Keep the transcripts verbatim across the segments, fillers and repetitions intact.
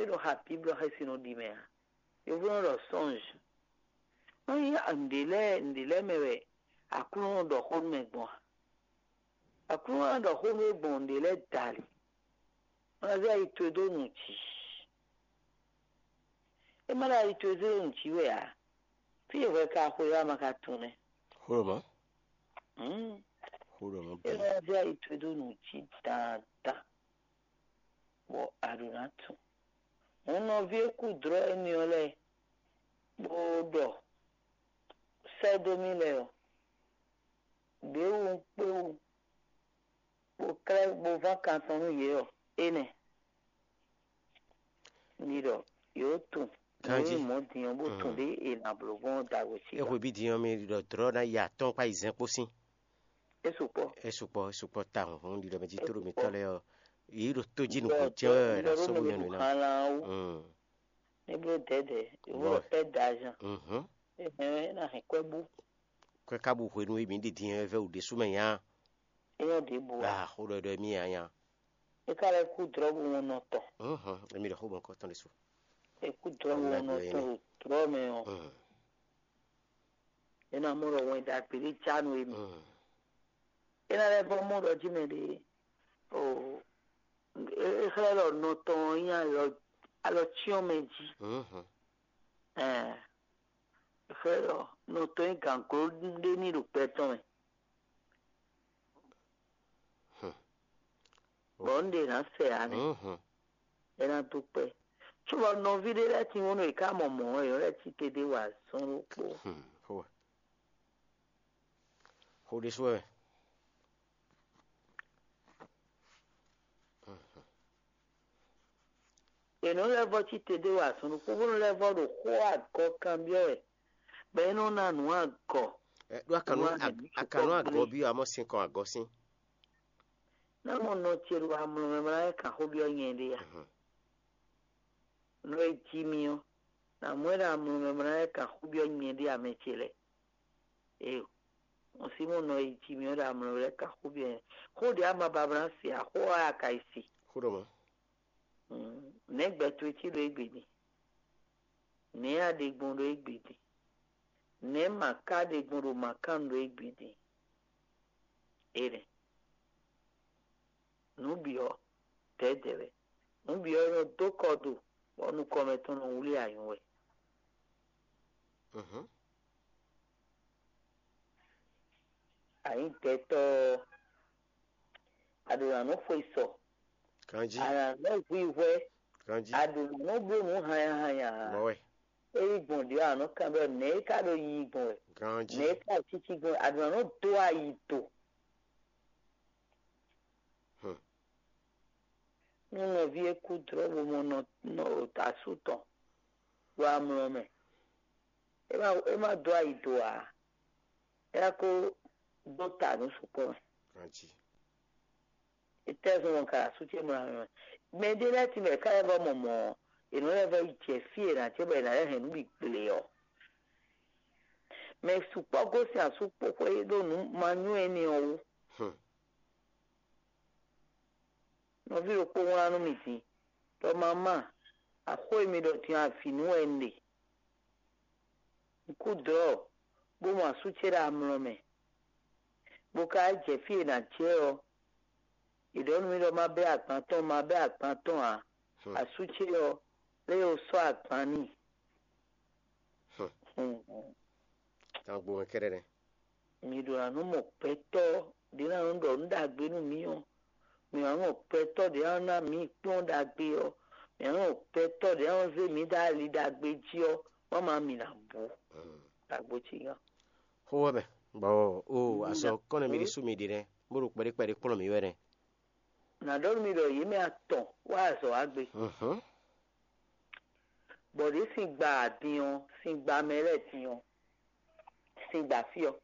ɖo xa Bíblɔ xɛsi nɔ ɖi mɛ ǎ. Yovó nɔ ɖɔ sɔ́nj. Nɔ nyí nǔɖé lɛ́ɛ nǔɖé lɛ́ɛ mɛ wɛ Aklúnɔ ɖɔ xó nú mɛ gbɔn a? Aklúnɔ ná ɖɔ xó nú we gbɔn nǔɖé lɛ́ɛ dali. Wọ́n ná zé ayi towe dó nǔ jí. É má ɖo ayi towe zé ɖo nǔ jí wɛ ǎ. Fí e hwɛ ka xwe wá ma ka tunwun nɛ́. Xó ɖɔ mɔ̌. Hmm. Xó ɖɔ mɔ̌ É bɛn. Ná zé ayi towe dó nǔ jí dandan, bɔ a ɖǒ ná tunwun. Hǔn nɔví e kú dlɔ́ énɛ́ ɔ́ lɛ́ɛ, bó ɖɔ sɛ́ dó mì lɛ́ɛ ɔ́, ɖěbǔ un kpé wú, bó klɛ́ bó ván kan tɔn nú yě ɔ́, énɛ́. Mi ɖɔ yǒ tunwun. Ganjí. Nǔ mɔ̌ din ɔ́, bó tunwun ɖě è nǎ bló gbɔn dagbe sí. É hwe bí din ɔ́, mi ɖɔ dlɔ̌ ná yi atɔ́ɔ́n kpó ayizɛ́n kpó sín. É sukpɔ́. É sukpɔ́, é sukpɔ́ tawun. Hǔn ɖiɖɔ mɛ jí tóɖo mǐtɔn lɛ́ɛ ɔ́, yǐ ɖo tó jí nukún jɛ́n wɛ wɛ ná sɔ́ bó nyɔ́ nǔ ná. Xan lá wú. Mm. Ní bló dɛ̌dɛ̌, yǒ Bɔ. Lɔ pɛ́ da azan. Mhm. É hɛn ná hɛn kwɛ́ bú. Kwɛ́ ka bu hwenu e mǐ ɖi din ɔ́ vɛ́ wǔ ɖésú mɛ nya. É nyɔ́ ɖěbǔ ǎ. Ah, xó ɖɔ ɖɔ mí nya nya. É ka lɛ́ kú dlɔ̌ bó wɔn nɔ tɔn. Mhm. Emi ɖɔ xó bɔ nukɔn tɔn ɖésú. É kú dlɔ̌ bó wɔn nɔ tɔn ɖo dlɔ̌ mɛ ɔ́. Mhm. É ná mɔ ɖɔ wɛn ɖagbe ɖé já nú émi. Mhm. É ná lɛ́ vɔ́ mɔ ɖɔ jí mɛ ɖé. O, é xlɛ́ ɖɔ nɔ tɔn ɔ́ nyí alɔ alɔ cyɔ́n mɛ jí. Mhm. Ɛɛ, é xlɛ́ ɖɔ nɔ tɔn nyí gǎngló ɖé ní ɖo gbɛ tɔn mɛ. Hmm. Bɔ un ɖe ná sɛ ǎ nɛ́. Mhm. É ná dó kpɛ́. Cóbɔ nɔví ɖé lɛ́ɛ tín wónú è ká mɔ mɔ̌ ɔ́, è nɔ lɛ́ cí te ɖé wa azɔn ɖokpó. Hmm. Xó wɛ. Xó ɖésú wɛ. Mhm. È nɔ lɛ́ vɔ́ cí te ɖé wa azɔn ɖokpó, bó nɔ lɛ́ vɔ́ ɖo xó agɔ kanbyɔ́ wɛ, bɔ é nɔ ná nǔ agɔ. Ɛ, ɖó akanu Nú ag- akanu agɔ bí amɔ sin kɔ agɔ sín. Ná mɔ nɔ ce ɖo amlɔ mɛ mlá é kan xó byɔ́ nyɛ ɖé a? Mhm. Nɔ e jí mì ɔ́, nǎ mɔ ɛ ɖo amlɔ mɛ mlá é kan xó byɔ́ nyɛ ɖé amɛ ce lɛ́ɛ. Eo, un sí mɔ nɔ e jí mì ɔ́ ɖo amlɔ mɛ lɛ́ɛ kan xó byɔ́ nyɛ. Xó ɖě ama ba mlá se a, xó ɔ́ a ka yi se. Xó ɖɔ mɔ̌. Mm, nɛ̌ gbɛ towe cí ɖo égbé din? Nɛ̌ a ɖe gbɔn ɖo égbé din? Nɛ̌ mǎ ka ɖe gbɔn ɖo mǎ kan ɖo égbé din? Énɛ́. Nǔ bǐ ɔ́, dɛ̌dɛ̌ wɛ. Nǔ bǐ ɔ́ nɔ dó kɔ do, bɔ nukɔn mɛtɔn nɔ wlí anyǔ wɛ. Mhm. Anyǐ gbɛtɔ́ ɔ́, a ɖo nǎ nɔ xwe sɔ, Ganjí. A nǎ nɔ hwihwɛ́, Ganjí. A ɖo nǎ nɔ bló nǔ hanya hanya ǎ. Mɔ̌ wɛ. É yí gbɔn ɖě a nɔ kan ɖɔ nɛ̌ é ka ɖo yiyi gbɔn wɛ, Ganjí. Nɛ̌ é ka ɖo cící gbɔn wɛ, a ɖo nǎ nɔ dó ayi do. Hmm. Nú nɔví e kú dlɔ̌ bo mɔ nɔ nɔ asú tɔn ɖo amlɔ mɛ, é má é má dó ayi do ǎ. É ná kó dó ta nǔ sukpɔ́ mɛ. Ganjí. Étɛ́ zɔn ɔ́ ka ɖo asú ce mlɔ́ mɛ? Mɛ ɖé lɛ́ɛ tɛ́nmɛ ká lɛ́ vɔ́ mɔ mɔ̌, è nɔ lɛ́ vɔ́ yi jɛ fí e è nǎ jɛ bɔ è nǎ lɛ́ hɛn nǔ bǐ gble ɔ́. Mɛ sukpɔ́ gosín asú kpó xwé ɖó nǔ manyú énɛ́ ɔ́ wú. Hmm. Nɔví ɖokpó wlán nú mì din, ɖɔ mamá, axó e mi ɖɔ din avǐ nú wɛ un ɖe. Un kú dlɔ̌, bó mɔ asú ce ɖo amlɔ mɛ, bó ka jɛ fí e è nǎ jɛ ɔ́, è ɖɔ nú mì ɖɔ má bɛ́ agban tɔn, má bɛ́ agban tɔn ǎ. Hmm. Asú ce ɔ́, lé o sɔ́ agban n'i. Hmm. Hmm. Tagbo mɛ kɛ́ɖɛ́ nɛ́. Mi ɖo nǎ nɔ mɔ gbɛtɔ́ ɖě ná nɔ ɖɔ nǔ ɖagbe nú mì ɔ́, mi nǎ nɔ mɔ gbɛtɔ́ ɖě ná ná mǐ kplɔ́n ɖagbe ɔ́, mi nǎ nɔ mɔ gbɛtɔ́ ɖě ná nɔ zé mǐ dó ali ɖagbe jí ɔ́, wǎ ma mi ná bú. Hmm. Tagbo cí gán. Xó wɛ mɛ, bɔ o azɔ kɔnɛ mi ɖi sú mi ɖi nɛ, bó ɖo kpɛɖé kpɛɖé kplɔ́n mi wɛ nɛ. Nǎ ɖɔ nú mi ɖɔ yě mɛ atɔn wá azɔ̌ wá gbe. Mhm. Bɔ ɖě sin gba din ɔ́, sin gba mɛ lɛ́ɛ din ɔ́, sin gba fí ɔ́.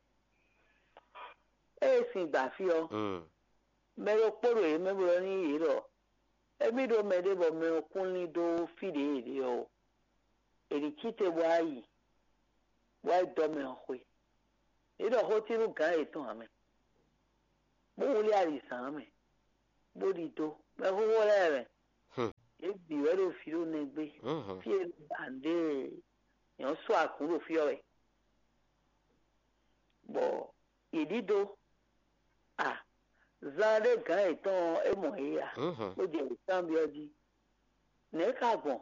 Ée sin gba fí ɔ́, Mm. Mɛ ɖokpó ɖo yě mɛ bó ɖɔ n'i yě ɖɔ: Émí ɖó mɛɖé bɔ mɛ ɔ́ kún lín dó fí ɖě yě ɖe ɔ́ ó. È nǐ cí te bó wá yi, bó wá yi dɔ́ mɛ ɔ́ xwé. Yě ɖɔ xó cí nú gǎn yětɔn ǎ mɛ, bó wlí ali zǎn ǎ mɛ, bó ɖidó mɛxóxó lɛ́ɛ mɛ. Hmm. Yě bǐ wɛ é ɖo vǐ ɖo nɛgbé. Mhm. Fí e bǎnɖe nyɔ̌ sɔ́ akǔ ɖo fí ɔ́ wɛ. Bɔ yě ɖíɖó a zan ɖé gǎn yětɔn ɔ́, é mɔ yě a? Mhm. Bó jɛ wěkanbyɔ́ jí. Nɛ̌ ka gbɔn?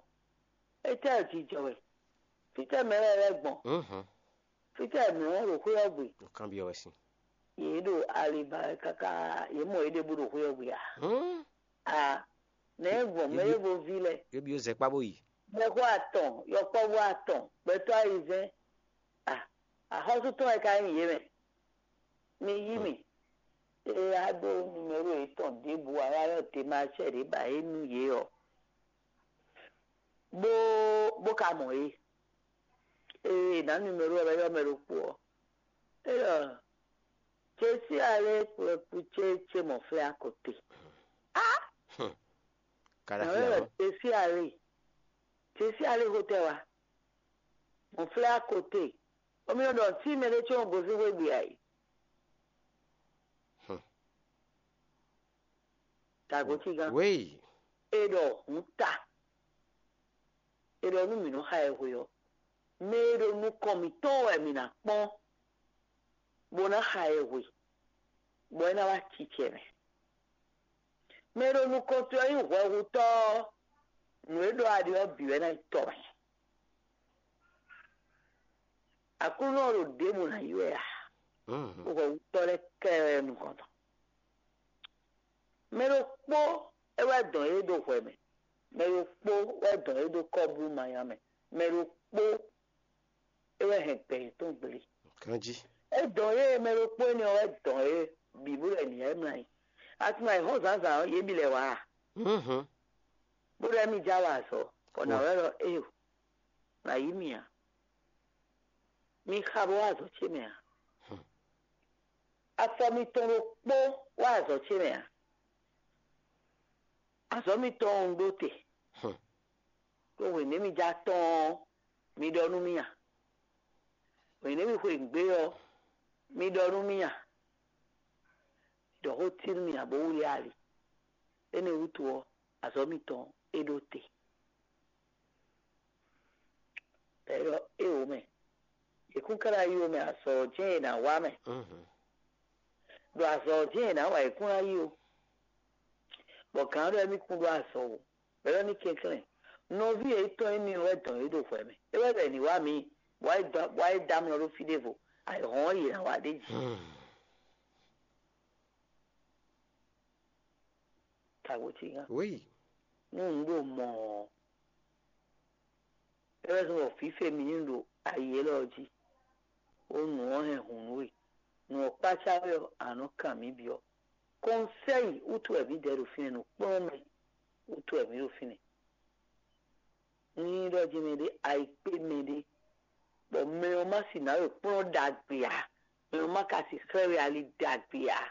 Étɛ́ jijɔ wɛ? Fítɛ́ mɛ lɛ́ɛ lɛ́ gbɔn? Mhm. Fítɛ́ mɛ ɔ́ ɖo xwé ɔ́ gbe? Nǔkanbyɔ́ wɛ sín. Yě ɖo ali ba wɛ káká, yě mɔ yě ɖěbǔ ɖo xwé ɔ́ gbe a? Hmm. A nɛ̌ gbɔn mɛ yě vo ví lɛ́ɛ? Yě byɔ́ zɛ kpá bó yi. Mɛxó atɔn, yɔkpɔ́vú atɔn, gbɛtɔ́ ayizɛ́n. A axɔ́sú tɔn wɛ ka nyí yě mɛ. Mi yí mì. Ée a ɖó numero yětɔn ɖěbǔ a wá ɖɔ demarchɛ ɖě ba é nú yě ɔ́, bó bó ka mɔ é. Ée è nǎ numero ɔ́ wɛ ɔ́ mɛ ɖokpó ɔ́, é ɖɔ Jesí alé kplɔ́kpú ce ce mɔ flɛ́ akɔte. Á! Kàɖá nǎ fi wɛ ɖɔ àwọn. Jesí alé, Jesí alé xotɛ wa mɔ flɛ́ akɔte. Omi nɔ ɖɔ tí mɛ ɖé tsɔ́n gosín xwé gbe ayǐ. Hmm. Tagbo tí gán. Wéyí. E ɖɔ hǔn ta. E ɖɔ nú mǐ nɔ xa ɛ hwe ɔ́, mɛ e ɖo nukɔn mǐtɔn wɛ mǐ ná kpɔ́n, bó ná xa ɛ hwe, bɔ é ná wá cicɛ mɛ. Mɛ e ɖo nukɔn towe ɔ́ nyí hwɛhutɔ́ ɔ́, nǔ e ɖɔ a ɖe ɔ́ bǐ wɛ ná nyí tɔ mɛ. Aklúnɔ ɔ́ ɖo ɖěbǔ ná yi wɛ a? Hwɛhutɔ́ lɛ́ɛ kɛ wɛ nukɔn tɔn. Mɛ ɖokpó é wɛ dɔn yě ɖo hwɛ mɛ, mɛ ɖokpó wɛ dɔn yě ɖo kɔ́blú manya mɛ, mɛ ɖokpó é wɛ hɛn gbɛ yětɔn gblé. Ganjí. É dɔn yě mɛ ɖokpó énɛ́ ɔ́ wɛ dɔn yě bǐ bó lɛ nǐ yɛ mlá yí. Atima yi xɔ zǎnzǎn ɔ́, yě bǐ lɛ wǎ a? Mhm. Bó ɖɔ mì já wa azɔ̌, bɔ nǎ wɛ ɖɔ éyo, nǎ yí mì ǎ. Mi xa bó wá azɔ̌ ce mɛ ǎ. Afɔ mitɔn ɖokpó wá azɔ̌ ce mɛ ǎ. Azɔ̌ mitɔn ɔ́ un ɖó te. Ɖó hwěnɛ́ mi já tɔ́n ɔ́, mi ɖɔ nú mì a? Hwěnɛ́ mi xwe nǔgbé ɔ́, mi ɖɔ nú mì a? Mi ɖɔ xó cí nú mì ǎ bó wlí ali. Énɛ́ wútu ɔ́, azɔ̌ mitɔn é ɖó te. Bɔ é ɖɔ éwo mɛ, yě kún ká ná yi ó mɛ, azɔ̌ ɔ́ jɛ́n è nǎ wa mɛ. Ɖo azɔ̌ ɔ́ jɛ́n è nǎ wa, yě kún ná yi ó. Bɔ gǎn ɖɔ émí kún ɖó azɔ̌ ó, bɔ é ɖɔ ní kɛnklɛ́n, nɔví yětɔn émí wɛ dɔn yě ɖo hwɛ mɛ. É wɛ ɖɔ è nǐ wá mǐ, bɔ wá yi dá mlɔ ɖó fí ɖěvo, ayǐhɔ́n ɔ́ yě ná wa ɖ'é jí. Tagbo cí gán. Oui. Nú un ɖo mɔ ɔ́, é wɛ zɔ́n bɔ fǐfe mì ní ɖo ayi élɔ́ jí, bó nǔ ɔ́ hɛn hǔn nú we. Nǔ ɔ́ kpácá we ɔ́, a nɔ kan mǐ byɔ́. Kɔnsɛ́yi wútu wɛ mǐ dɛ ɖo fínɛ́, nǔkplɔ́nmɛ wútu wɛ mǐ ɖo fínɛ́. Ní ɖɔ jí mɛɖé ayikpé mɛɖé, bɔ mɛ ɔ́ má sì ná ɖo kplɔ́n ɖagbe ǎ, mɛ ɔ́ má ka sì xlɛ́ we ali ɖagbe ǎ,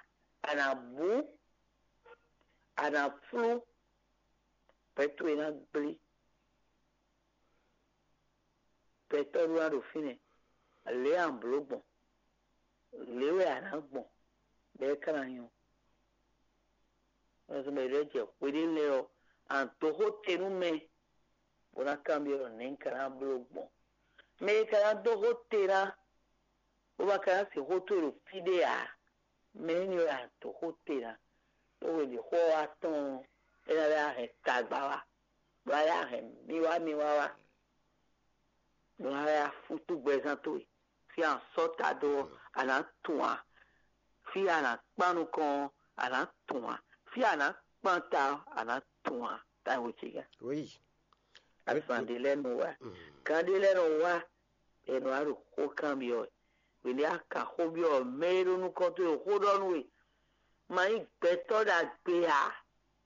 a nǎ bú, a nǎ flú, gbɛ towe ná gblé. Gbɛtɔ́ ɖó ná ɖo fínɛ́, lě a nǎ bló gbɔn, lě wɛ a nǎ gbɔn, bɔ é ka ná nyɔ́. Nɔzɔn mɛ ɖě jɛ hweɖé lɛ́ɛ ɔ́, a nǎ dó xó te nú mɛ, bó ná kanbyɔ́ ɖɔ nɛ̌ un ka ná bló gbɔn. Mɛ e ka ná dó xó te ná, bó ma ka ná se xó towe ɖo fí ɖé ǎ, mɛ énɛ́ wɛ a nǎ dó xó te ná. Ɖó hwe ɖě xó ɔ́ wá tɔn ɔ́, é ná lɛ́ wá hɛn tagba wá, bó ná lɛ́ wá hɛn miwá miwá wá, bó ná lɛ́ wá fútú gbɛzán towe. Fí a nǎ sɔ́ ta dó ɔ́, a nǎ tunwun ǎ. Fí a nǎ kpán nukɔn ɔ́, a nǎ tunwun ǎ. Fí a nǎ kpán ta ɔ́, a nǎ tunwun ǎ. Táyǐ wǒ ce gán. Oui. Azǎn ɖé lɛ́ɛ nɔ wá, gán ɖé lɛ́ɛ nɔ wá, è nɔ wá ɖo xó kanbyɔ́ wɛ. Hwěɖé a ka xó byɔ́ mɛ e ɖo nukɔn towe xó ɖɔ nú we, ma nyí gbɛtɔ́ ɖagbe ǎ,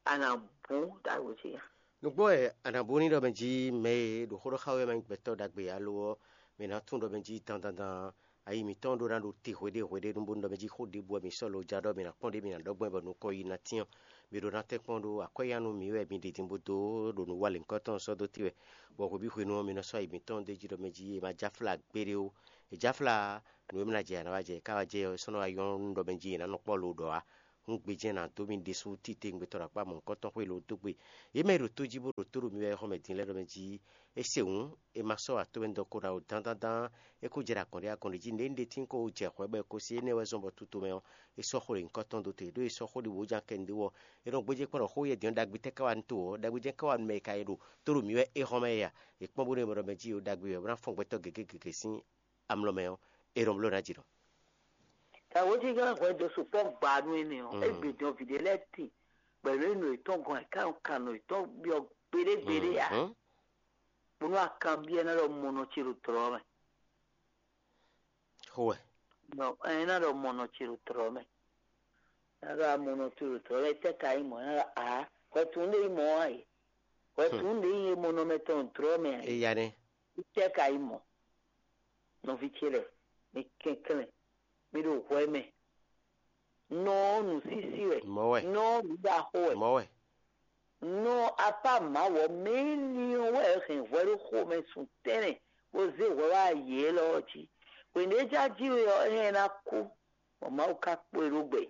a nǎ bú ɖagbe ce nya. Nǔgbó wɛ a nǎ bú ní ɖɔ mɛ jí mɛ e ɖo xó ɖɔ xá we ma nyí gbɛtɔ́ ɖagbe ǎ lo ɔ́, mɛ ná tún ɖɔ mɛ jí dandandan ayi mǐtɔn ɖó ná ɖo te hweɖé hweɖé nú bónú ɖɔ mɛ jí xó ɖěbǔ wɛ mǐ sɔ́ lo ja ɖɔ mǐ ná kpɔ́n ɖé mǐ ná ɖɔ gbɔn bɔ nukɔn yi ná tyɔ́n. Mǐ ɖó ná tɛ́nkpɔ́n ɖó akwɛ́yánu mǐ wɛ mǐ ɖi din bó dó ɖo nǔ wa lěhunkɔtɔn sɔ́ dó tì wɛ, bɔ hweví hwenu ɔ́ mǐ nɔ sɔ́ ayi mǐtɔn ɖ'é jí ɖɔ mɛ jí è ma jáfla gbeɖé ó. È jáfla nǔ e mǐ ná jɛ a nǎ wá jɛ è ká wá jɛ ɔ́, é sɔ́ nɔ wá nyɔ́ nú ɖɔ mɛ jí è nǎ nɔ kpɔ́ lo ɖɔ ǎ. Un gbejɛ́n ná dó mi ɖésú titewungbe tɔn ɖo akpá mɔ̌hunkɔtɔn xwé lǒ dó gbe. Yě mɛ e ɖo tó jí bó ɖo tó ɖo mi wɛ xɔmɛ din lɛ́ɛ ɖɔ mɛ jí é se hǔn, è ma sɔ́ wǎ towe dó kó ɖo awo dandandan, é kó jɛ ɖo akɔn ɖé akɔn ɖé jí nǔɖé nǔɖé tín kó jɛ hwɛ bɔ è ko se énɛ́ wɛ zɔn bɔ tutomɛ ɔ́, é sɔ́ xó ɖě nyǐkɔ tɔn dó te, ɖó è sɔ́ xó ɖi wǒ jan kɛ nǔɖé wɔ. È nɔ gbéjé kpɔ́n ɖɔ xó yɛ din ɔ́ ɖagbe tɛ́ ká wá nú to ɔ́, ɖagbe jɛ́n ká wá nú mɛ e ka yi ɖo tó ɖo mi wɛ é xɔmɛ é a? È kpɔ́n bónú è mɔ ɖɔ mɛ jí ɖo ɖagbe wɛ bó ná fɔ́n gbɛtɔ́ gěgé gěgé sín amlɔ mɛ ɔ́, è ɖɔ bló ná jǐ ɖɔ. Tawǒjínjɔ́n hwɛ dó sukpɔ́ gba nú énɛ́ ɔ́, é gbe dɔn vǐ ɖé lɛ́ɛ tin, bɔ è nɔ yi nɔ yětɔn gɔn ayǐká nɔ kan nɔ yětɔn byɔ́ gbeɖé gbeɖé ǎ. Bónú akanbyɔ́ ná ɖɔ mɔnɔ ce ɖo tlɔ̌ mɛ. Xó wɛ. Nɔ ɛ ná ɖɔ mɔnɔ ce ɖo tlɔ̌ mɛ. Ná ɖɔ amɔnɔ ce ɖo tlɔ̌ mɛ, tɛ́ ka nyí mɔ̌? Ná ɖɔ ǎ, hwɛtun ɖé nyí mɔ̌ ǎ é. Hwɛtun ɖé nyí mɔnɔ mɛ tɔn ɖo tlɔ̌ mɛ ǎ é. Eya nɛ́. Tɛ́ ka nyí mɔ̌? Nɔví ce lɛ́ɛ, mi kɛnklɛ́n, mi ɖo hwɛ mɛ. Nɔ ɔ́ nǔsísí wɛ, Mɔ̌ wɛ. Nɔ ɔ́ nǔɖaxó wɛ. Mɔ̌ wɛ. Nɔ apá Mawu ɔ́ mɛ énɛ́ ɔ́ wɛ hɛn hwɛ ɖó xomɛ sun tɛ́nɛ bó zé hwɛ wá yě élɔ́ ɔ́ jí. Hwěɖéjájí we ɔ́, é hɛn ná kú, bɔ Mawu ka kpo e ɖó gbɛ.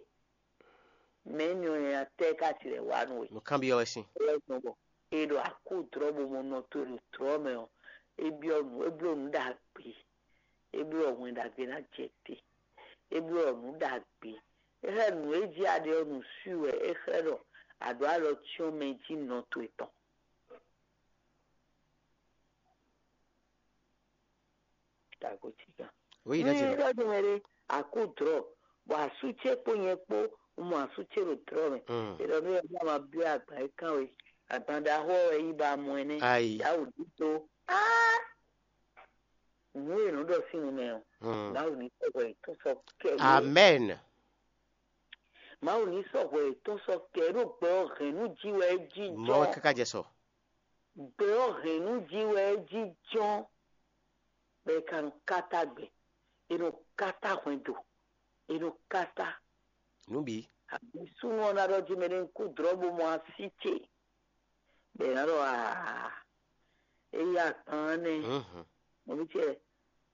Mɛ énɛ́ ɔ́ nyanya tɛ́ ká tilɛ wá nú we? Nǔkanbyɔ́ wɛ sín. É wɛ gbɔn bɔ è ɖo akúdrɔ́ bo mɔ nɔ towe ɖo tlɔ̌ mɛ ɔ́, é byɔ́ nǔ, é bló nǔ ɖagbe, é bló wɛn ɖagbe ná jɛ te, é bló nǔ ɖagbe. É xlɛ́ nǔ e jí a ɖe ɔ́ nǔsú wɛ é xlɛ́ ɖɔ a ɖǒ alɔ cyɔ́n mɛ jí nɔ towe tɔn. Tagotígán. Oui, Ní that's it. Ɖɔ din mɛ ɖé, akú drɔ̌, bɔ asú ce kpó nyɛ kpó, un mɔ asú ce ɖo drɔ̌ mɛ. Mm. È ɖɔ nú yɛ bó ma byɔ́ agban e kán we. Agban ɖaxó ɔ́ wɛ yí ba mɔ ɛ nɛ́. Ayi. Yawǔ ɖíto. Á! Nǔ e nǔ ɖɔ sín nu mɛ ɔ́, Mm. Mawu ní sɔ́ hwɛ yětɔn sɔ́ kɛ yě. Amen. Mawu ní sɔ́ hwɛ yětɔn sɔ́ kɛ ɖó gbɛ ɔ́ hɛn nú jí wɛ é jí Mɔ̌ wɛ jɔ. Káká jɛ sɔ. Gbɛ ɔ́ hɛn nú jí wɛ é jí jɔ́n, bɔ è ka nɔ káta gbɛ, è nɔ káta hwɛndo, è nɔ káta. Nǔ bǐ. Abǐ súnnu ɔ́ ná ɖɔ jí mɛ ɖé ń kú drɔ̌ bó mɔ así ce, bɔ è nǎ ɖɔ aa, é yí agban ɔ́ nɛ́. Mhm. Nɔví ce,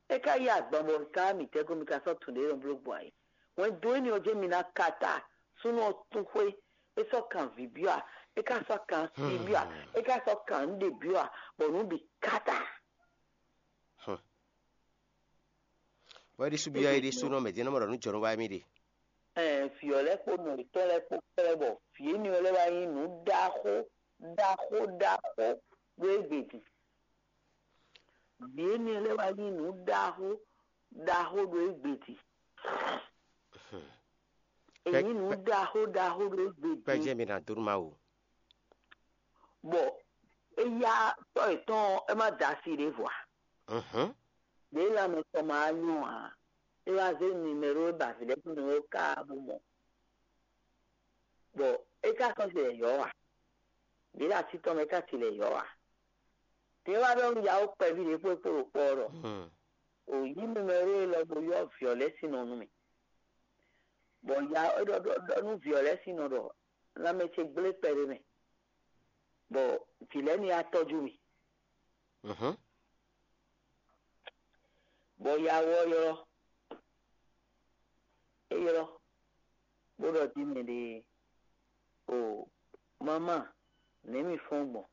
é ka yí agban bɔ ka mǐtɛ́ kó mi ka sɔ́ tun ɖě nɔ bló gbɔn ayǐ. Hwɛndo énɛ́ ɔ́ jɛ́n mi ná káta, súnnu ɔ́ tún xwé, é sɔ́ kan vǐ byɔ́ a, é ka sɔ́ kan así byɔ́ a, é ka sɔ́ kan nǔɖé byɔ́ a, bɔ nǔ bǐ káta. Hmm. Wɛ ɖi subyɔ yi ɖi sunɔ mɛ din nɔ mɔ ɖɔ nú jɔnɔ wa mi ɖe. Ɛɛ, vǐ ɔ́ lɛ́ɛ kpó nɔ yětɔn lɛ́ɛ kpó kplɛ́ bɔ vǐ énɛ́ ɔ́ lɛ́ɛ wá nyí nǔ ɖaxó ɖaxó ɖaxó ɖó égbé din. Vǐ énɛ́ lɛ́ɛ wá nyí nǔ ɖaxó ɖaxó ɖó égbé din. È nyí nǔ ɖaxó ɖaxó ɖó égbé din. Kpɛjɛ mi na dó nú Mawu. Bɔ éyá tɔ́ yětɔn ɔ́, é má da asi ɖěvo ǎ. Mhm. Ɖě lanmɛ tɔn ma wá nyɔ́ ǎ. É wá zé nimɛ́ro e ba vǐ lɛ́ɛ sín nǔ é ká bó mɔ. Bɔ é ka sɔ́ ce lɛ̌ yɔ́ ǎ. Ɖě ɖo así tɔn mɛ é ka ce lɛ̌ yɔ́ ǎ. Ɖě wá ɖɔ nú yawó kpɛví ɖě kpó é kpó ɖo kpɔ́ ɔ́ ɖɔ: Hmm. O yí nimɛ́ro élɔ́ bó ylɔ́ vǐ ɔ́ lɛ́ɛ sín nɔ nú mì. Bɔ ya é ɖɔ ɖɔ ɖɔ nú vǐ ɔ́ lɛ́ɛ sín nɔ ɖɔ: Lanmɛ ce gblé kpɛɖé mɛ, bɔ vǐ lɛ́ɛ ní wá tɔ́jú mì. Mhm. Bɔ ya ɔ́ ylɔ́, é ylɔ́, bó ɖɔ jí mɛ ɖée: O mamá, nɛ̌ mi fɔ́n gbɔn?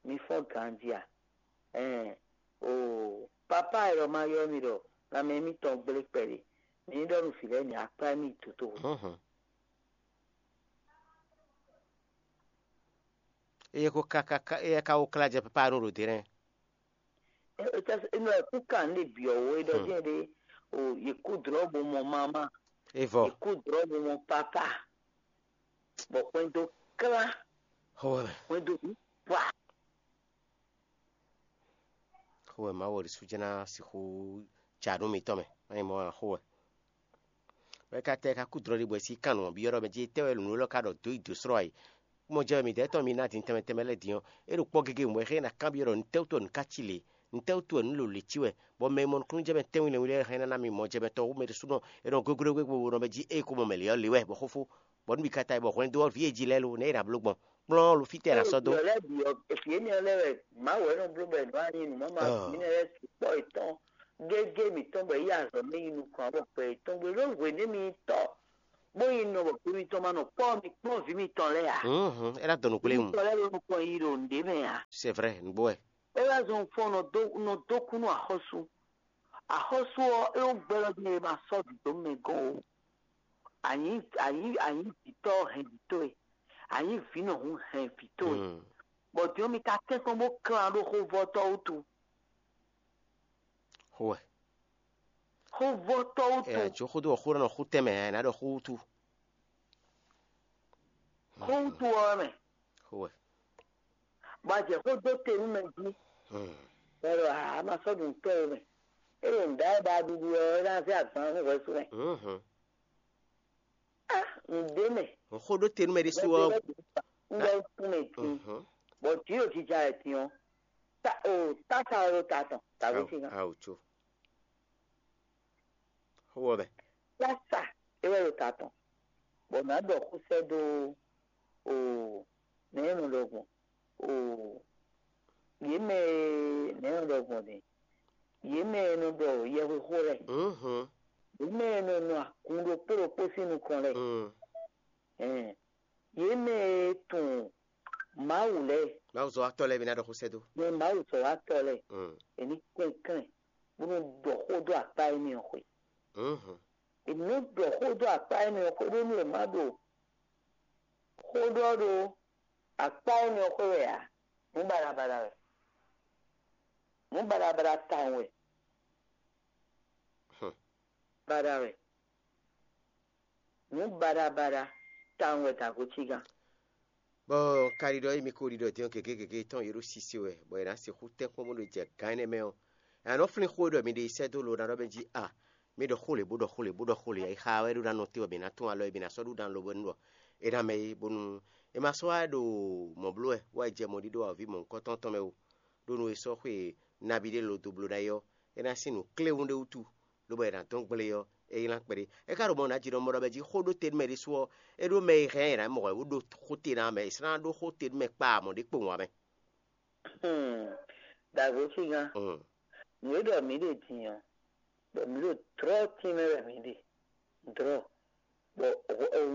Mi fɔ́n ganjí a? Ɛɛn, o papá e ɖɔ ma ylɔ́ mi ɖɔ lanmɛ mitɔn gblé kpɛɖé, mi ní ɖɔ nú vǐ lɛ́ɛ ní akpá mì toto. Mhm. Eye ko ka ka ka eye ka wo kla jɛ papa nu ɖo dɛnɛ. Eno ɛ kú kan lé byɔ̌ wo é ɖɔ jẹ́ ɖé o yě kú drɔ̌ bo mɔ mamá, Evɔ. Yě kú drɔ̌ bo mɔ papá, bɔ hwɛndo klá, Xɔwɛ. Hwɛndo bǐ wa. Xɔwɛ Mawu ɔ́ ɖésú jɛ́n ná sixú ja nú mitɔn mɛ. Má nyí mɔ̌ ǎ, xɔwɛ. Bɔ é ka tɛ é ka kú dlɔ́ ɖi bɔ è sí kan nǔ ɔ́ byɔ́ ɖɔ mɛ jí étɛ́ wɛ nǔ élɔ́ ka ɖɔ dǒ yi dǒ slɔ́ ǎ é. Mɔ jɛ wɛ midɛɛ tɔn mi ná din tɛnmɛ tɛnmɛ lɛ́ɛ din ɔ́, é ɖo kpɔ́ gégé mɔ̌ é xlɛ́ ná kanbyɔ́ ɖɔ nǔtɛ́wútu wɛ nǔ ká ci lě? Nǔtɛ́wútu wɛ nǔ lǒlǒ cí wɛ? Bɔ mɛ e mɔ nukúnnú jɛ mɛ tɛ́nwun nɛ́ wú lɛ́ɛ xlɛ́ ná mì mɔ jɛ mɛ tɔn wú mɛ ɖésúnɔ é nɔ gégé gégé bo nɔ mɛ jí ée ko mɔ mɛ lě ɔ́ lě wɛ bɔ xófó, bɔ nú mi ka ta yi bɔ hwɛndo ɔ́ vǐ e jí lɛ́ɛ lo nɛ̌ è nǎ bló gbɔn? Kplɔ́n lo fítɛ́ è nǎ sɔ́ dó. Vǐ ɔ́ lɛ́ɛ bǐ ɔ́, vǐ énɛ́ ɔ́ lɛ́ɛ wɛ Mawu wɛ nɔ bló bɔ è nɔ wá nyí nǔ mama vǐ énɛ́ lɛ́ɛ sukpɔ́ yětɔn gégé mǐtɔn bɔ é yi azɔ̌ mɛ yi nukɔn ǎ bɔ gbɛ yětɔn gbe ɖó hwěɖé mi nyí tɔ́. bó yi nɔ bɔ gbé mitɔn ma nɔ kpɔ́ mi kplɔ́n vǐ mitɔn lɛ́ɛ ǎ. Mhm, é ná dɔn nǔ kplé mu. Mitɔn lɛ́ɛ ɖo nukɔn yi ɖo nǔɖé mɛ ǎ. C'est vrai, nǔgbó wɛ. É wá zɔn fɔ́n nɔ dó nɔ dó kú nú axɔ́sú. Axɔ́sú ɔ́, é wó gbɛ́ lɔ din e ma sɔ́ vǐ dó mɛ gɔ́n o. Anyi anyi anyi vǐtɔ́ hɛn vǐtɔ́ e. Anyi vǐ nɔ hun hɛn vǐtɔ́ e. Mm. Bɔ din ɔ́, mi ka tɛ́nkpɔ́n bó klán ɖó xóvɔ́tɔ́ wútu. Xó wɛ. Xóvɔ́tɔ́ wútu. Ɛ jó xódó ɔ́ xó nɔ xú tɛnmɛ ɛ ná ɖɔ xó wútu. Xó wútu ɔ́ mɛ. Xó wɛ. Bɔ a jɛ xó dó te nú mɛ jí. Hmm. Bɔ a ma sɔ́ ɖu nǔtɔ́ e mɛ. É ɖo nǔɖá e ba ɖuɖu ɔ́, é ná zé agban nú hwɛsú mɛ. Mhm. Ah, nǔɖé mɛ. Xó ɖó te nú mɛ ɖésú ɔ́. Un ɖɔ kún mɛ din. Mhm. Bɔ jǐ ɖo jija wɛ din ɔ́. Ta o tása ɔ́ ɖo ta tɔn. Tàbí Awo, sin kan. Awo tso. Xó wɔ mɛ. Tása é wɛ ɖo ta tɔn. Bɔ nǎ ɖɔ xó sɛ́ dó o nɛ̌ nɔ ɖɔ gbɔn o yě mɛ e nɛ̌ nɔ ɖɔ gbɔn din. Yě mɛ e nɔ ɖɔ yɛhwexó lɛ́ɛ. Mhm. Yě mɛ e nɔ nɔ agun ɖokpó ɖokpó sín nukɔn lɛ́ɛ. Mm. Ɛn, yě mɛ e tunwun Mawu lɛ́ɛ, Mawu zɔ́watɔ́ lɛ́ɛ mi ná ɖɔ xó sɛ́ dó. Mɛ Mawu zɔ̌watɔ́ lɛ́ɛ, Mm. è ní klɛ́nklɛ́n bó nɔ ɖɔ xó dó akpá énɛ́ ɔ́ xwe. Mhm. È nǐ nɔ ɖɔ xó dó akpá énɛ́ ɔ́ xwe ɖó nú è má ɖo xó ɖɔ ɖó akpá énɛ́ ɔ́ xwe wɛ ǎ. Nǔ baɖabaɖa wɛ. Nǔ baɖabaɖa tawun wɛ. Hmm. Baɖa wɛ. Nǔ baɖabaɖa tawun wɛ dǎgotígán. Bɔ un ka ɖiɖɔ émi ko ɖiɖɔ din ɔ́ gěgé gěgé tɔn yě ɖo sise wɛ, bɔ è nǎ sixú tɛ́nkpɔ́n bó ɖo jɛ gǎn énɛ́ mɛ ɔ́, è nǎ nɔ flín xó e ɖɔ mi ɖe yi sɛ́ dó lo ná ɖɔ mɛ jí a, mi ɖɔ xó lě bó ɖɔ xó lě bó ɖɔ xó lě, ayixa wɛ ɖó ná nɔ te bɔ mǐ ná tunwun alɔ e mǐ ná sɔ́ ɖu ɖan lobo nú ɖɔ é ná mɛ é, bónú é ma sɔ́ wá ɖo mɔ̌ bló wɛ, bó wá yi jɛ mɔ̌ ɖíɖó awɔ̌ví mɔ̌hunkɔtɔn tɔn mɛ ó, ɖó nú é sɔ́ xwe nabí ɖé lo dó bló ná é ɔ́, é ná sín nǔ kléwún ɖé wútu, lobo è nǎ dɔn gble ɔ́, é nylá kpɛɖé. É ka ɖo mɔ nǎ jí nɔ mɔ ɖɔ mɛ jí xó ɖó te nú mɛ ɖésú ɔ́, é ɖó mɛ e hɛn ɛ ná mɔ wɛ wó ɖó xó te ná mɛ, è sɔ́ ná ɖó xó te nú mɛ kpa mɔ̌ ɖé kpowun ǎ mɛ. Hmm. Dǎgotígán, Mm. nǔ e ɖɔ mǐ ɖe din ɔ́, bɔ mǐ ɖo dlɔ́ tínmɛ wɛ mǐ ɖe. Dlɔ́. Bɔ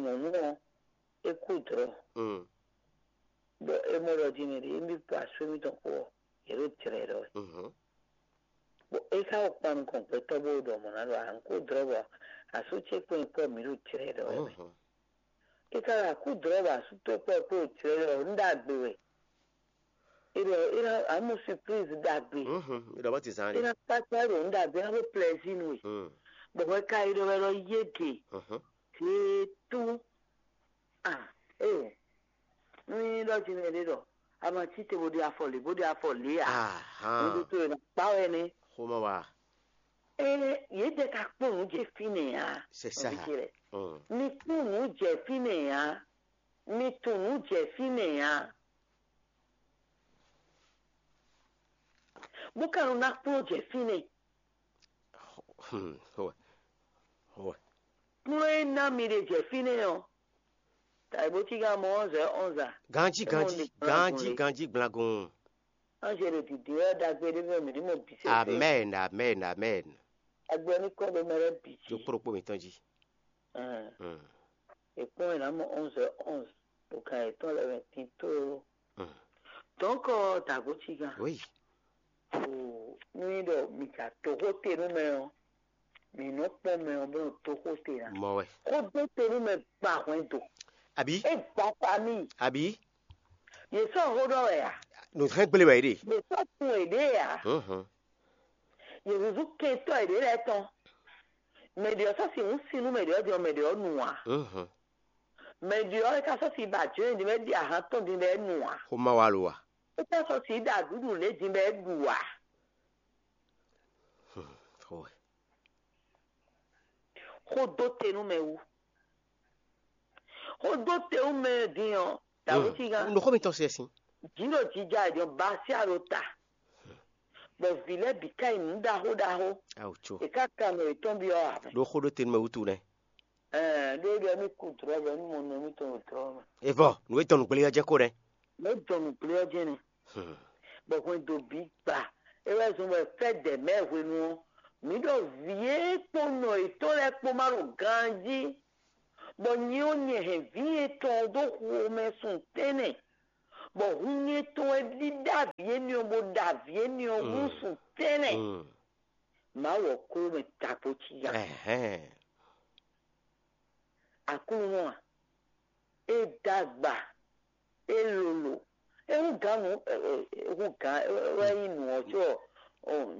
nyɔ̌nu ɔ́, é kú dlɔ́. Mm. Bɔ é mɔ ɖɔ din mɛ ɖě émí kpó asú émítɔn kpó ɔ́, yě ɖo jlɛ̌ ɖɔ wɛ. Mhm. Bɔ é ka wɔ kpan nukɔn gbɛtɔ́ bó ɖɔ mɔ̌ ná ɖɔ a nǔ kó dlɔ́ bɔ asú ce kpó nyɛ kpɔ́ mǐ ɖo jlɛ̌ ɖɔ wɛ mɛ. Mhm. É ka ɖo akú dlɔ́ bɔ asú towe kpɔ́ kpó ɖo jlɛ̌ ɖɔ wǔ ɖagbe wɛ. É ɖɔ é ná amú surprise ɖagbe. Mhm. Mi ɖɔ bɔ ti zan É ɖe. ná kpákpá ɖo nǔ ɖagbe ná ɖó plaisir nú we. Mm. Bɔ hwɛ ka yi ɖɔ wɛ ɖɔ yé ɖe. Mhm. Zé tú. Ah, eh. Ní ɖɔ jí nɛ ɖé ɖɔ a ma cí te bó ɖe afɔ lě bó ɖe afɔ lě ǎ. Ahan. Nǔɖuɖu e nɔ kpá wɛ nɛ́. Xomɛ wa. Ée yě jɛ ka kpɔ́n nǔ jɛ fínɛ́ ǎ. C'est ça. Nɔví ce lɛ́ɛ. Mm. Mi kpɔ́n nǔ jɛ fínɛ́ ǎ. Mi tunwun nǔ jɛ fínɛ́ ǎ. Bó ka nɔ ná kplɔ́n jɛ fínɛ́. Hmm, xomɛ. Xomɛ. Kplɔ́n e ná mi ɖe jɛ fínɛ́ ɔ́, tàbí bó cí ká mɔ onze onze a? Ganji, É mɔ ganji, ɖe ganji, gblagun ɖe. Ganji gblagun. Anzelu dǐndín wɛ ɖagbe ɖé mɛ mǐ ní mɔ bǐ sésé. Amen, amen, amen. Agbɛ́ ní kɔ ɖo mɛ lɛ́ɛ bǐ jí. Jó kpóɖokpó mǐtɔn jí. Ɛn. Mm. È kpɔ́n è nǎ mɔ onze onze ɖo kan yětɔn lɛ́ɛ mɛ tito. Mm. Dɔ̌nkɔ dǎgotígán. Oui. O, nú nyí ɖɔ mǐ ka toxó te nú mɛ ɔ́, mǐ nɔ́ kpɔ́n mɛ ɔ́ bó nɔ toxó te ná. Mɔ wɛ. Xó dó te nú mɛ gba hwɛndo. Àbí? É gba famille. Àbí? Yě sɔ́ xó ɖɔ wɛ a? Nǔ hɛn gblé wɛ é ɖe. Yě sɔ́ tun è ɖě a? Mhm. Yě zúzú kɛntɔ́ è ɖě lɛ́ɛ tɔn. Mɛ ɖě ɔ́ sɔ́ sixú sin nú mɛ ɖě ɔ́ din ɔ́, mɛ ɖě ɔ́ nu ǎ. Mhm. Mɛ ɖě ɔ́ é ka sɔ́ sin ba jǒ din bɔ é ɖi ahan tɔn din bɔ é nu ǎ. Xó má wa lo a? É ka sɔ́ sin ɖa ɖǔɖu lě din bɔ é ɖu ǎ. Hmm, xó wɛ. Xó dó te nú mɛ wú. Xó dó te nú mɛ din ɔ́, dǎwútígán. Nǔ xó mitɔn se sin. Jǐ ɖo jija è jɔ basia ɖo ta. Bɔ vǐ lɛ́ɛ bǐ ká yi nǔ ɖaxó ɖaxó. Awu tso. È ká kan nɔ yětɔn byɔ́ ǎ. Ɖó xó ɖó te nú mɛ wútu nɛ́. Ɛɛ, ɖó é ɖɔ émí kú dlɔ̌ bɔ émí mɔ nɔ émítɔn ɖo dlɔ̌ mɛ. Evɔ, nǔ e dɔn nǔgbléyɔ́ jɛ́n ko nɛ́. Nǔ e dɔn nǔgbléyɔ́ jɛ́n nɛ́. Hmm. Bɔ hwɛndo bǐ gba. É wɛ zɔn bɔ fɛ́ dɛ mɛ̌ hwenu ɔ́, mǐ ɖɔ vǐ e kpó nɔ yětɔn lɛ́ɛ kpó má ɖo ganjí. Bɔ nyɛ ɔ́, nyɛ hɛn vǐ yětɔn ɔ́ dó xomɛ sun tɛ́nnɛ, bɔ hun nyɛ tɔn wɛ ɖíɖá vǐ énɛ́ ɔ́, bó ɖa vǐ énɛ́ ɔ́ hú sun tɛ́nnɛ. Mawu ɔ́ kló mɛ tagbó cí ya. Aklúnɔ a, é dó agba, é lolo, é hú gǎn nǔ, é hú gǎn wɛ nyí nǔ ɔ́ có,